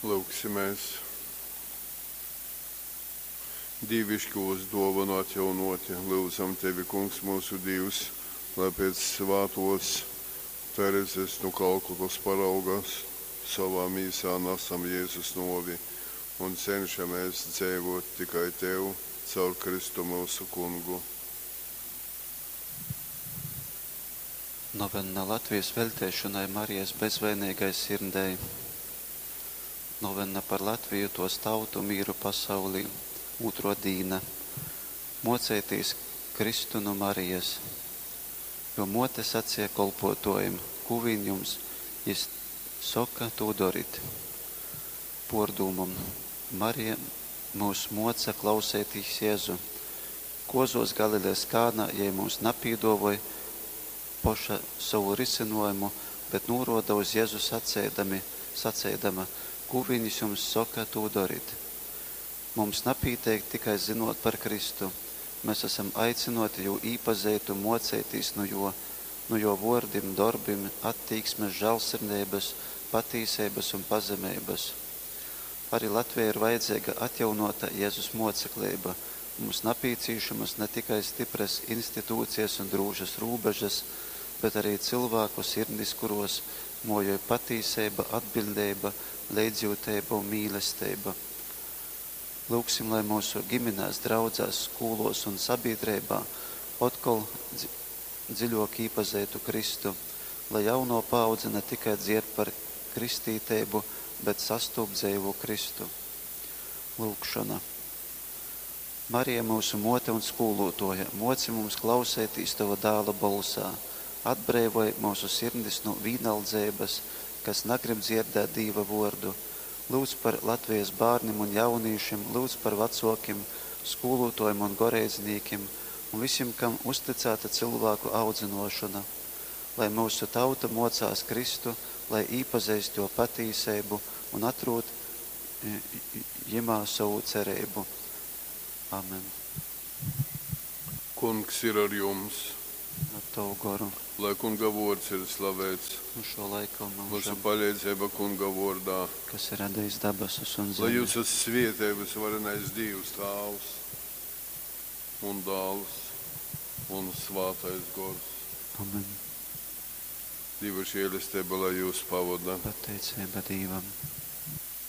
Lyugsimēs. Dīviškūs duovonu atjaunuoti, lyudzam Tevi, Kungs myusu Dīvs, lai pēc svātuos Terezes nu Kalkutas parauga sovā mīsā nasam Jezus nuovi un cenšamēs dzeivuot tikai Tev caur Kristu myusu Kungu. Novenna Latvijas veļteišonai Marijas bezvainīgai sirdei. Novenna par Latviju, tuos tautu, mīru pasaulī. Ūtruo dīna. Muoceitīs Kristu nu Marijas. Jo muote saceja kolpuotuojim: Kū vīn jums jis soka, tū dorit. Puordūmom. Marija myus muoca klauseitīs Jezu. Kuozuos Galilejas Kānā jei mums napīduovoj poša sovu rysynuojumu, bet nūruoda uz Jezu saceidami, saceidama, Kū vīn jis jums soka, tū dorit. Mums napīteik tikai zynuot par Kristu. Mes asam aicynuoti jū īpazeit un muoceitīs nu juo, nu juo vuordim, dorbim, attīksmes, žālsirdeibys, patīseibys un pazemeibys. Ari Latvejai ir vajadzeiga atjaunuota Jezus muocekleiba. Mums napīcīšamys na tikai styprys institūcijas un drūšys rūbežys, bet ari cylvāku sirdis, kuruos muojoj patīseiba, atbiļdeiba, leidzjiuteiba un mīlesteiba. Lyugsim, lai myusu giminēs, draudzēs, skūluos un sabīdreibā otkol dziļuok īpazeitu Kristu, lai jaunuo paaudze na tikai dzierd par kristīteibu, bet sastūp dzeivū Kristu. Lyugšona. Marija, myusu muote un skūluotuoja, muoci mums klauseitīs Tova Dāla bolsā. Atbreivoj myusu sirdis nu vīnaldzeibys, kas nagrib dzierdēt Dīva vuordu. Lyudz par Latvijas bārnim un jaunīšim, lyudz par vacuokim, skūluotuojim un goreidznīkim un vysim, kam uztycāta cylvāku audzynuošona. Lai myusu tauta muocās Kristu, lai īpazeist Juo patīseibu un atrūd jimā sovu cereibu. Amen. Kungs ir ar jums! Ar tovu goru. Lai Kunga vuords ir slaveits. Nu šo laika un Myusu myužam. paleidzeiba Kunga vuordā. Kas ir radījis dabasus un Lai zemi. jūs svietej vysvarenais Dīvs Tāvs un Dāls un Svātais Gors. Amen. Dīva žēlesteiba lai jūs pavoda. Pateiceiba Dīvam.